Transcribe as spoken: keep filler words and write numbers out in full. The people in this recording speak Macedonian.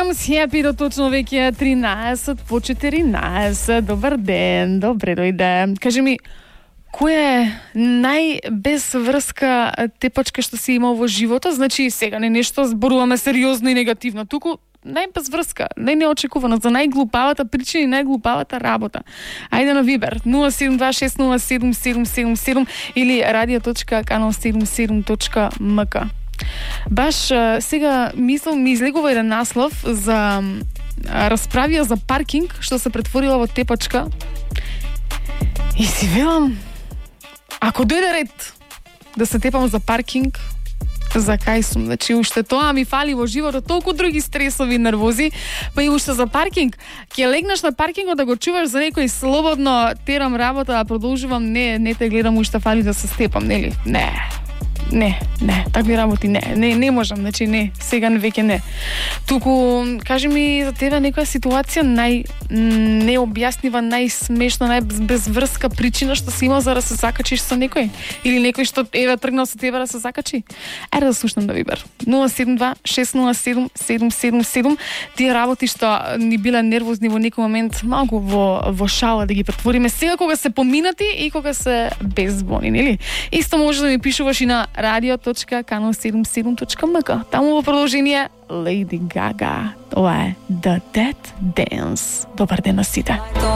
седум сјапи до точно веќе тринаесет по четиринаесет. Добар ден, добре дојде. Кажи ми, која е најбезврска тепачка што си имал во живота? Значи, сега не нешто зборуваме сериозно и негативно, туку најбезврска, најнеочекувано, за најглупавата причина и најглупавата работа. Ајде на Вибер нула седум два шест нула седум седум седум седум или радио точка канал седумдесет и седум точка ем ка. Баш сега мислам ми излегува еден наслов за расправија за паркинг што се претворила во тепачка. И си велам, ако дојде ред да се тепам за паркинг, за кај сум? Значи, уште тоа ми фали во животот, толку други стресови и нервози, па и уште за паркинг. Ке легнеш на паркингот да го чуваш за некој слободно терам работа, а продолжувам, не, не те гледам, уште фали да се степам, нели? Не. Не, не, такви работи не, не, не можам, значи не, сега веќе не. Туку, кажи ми за тебе некоја ситуација нај необјаснива, најсмешна, најбезврска причина што си имал за да се закачиш со некој? Или некој што еве тргнал со тебе да се закачи? Ајде да слушнам да Вибер. нула седум два шест нула седум седум седум седум. Тие работи што ни биле нервозни во некој момент, малку во во шала да ги претвориме сега кога се поминати и кога се безбони, нели? Исто може да ми пишуваш и на радио точка канал седумдесет и седум точка ем ка. Таму во продолжение Lady Gaga. Ова е The Dead Dance. Добар ден на сите.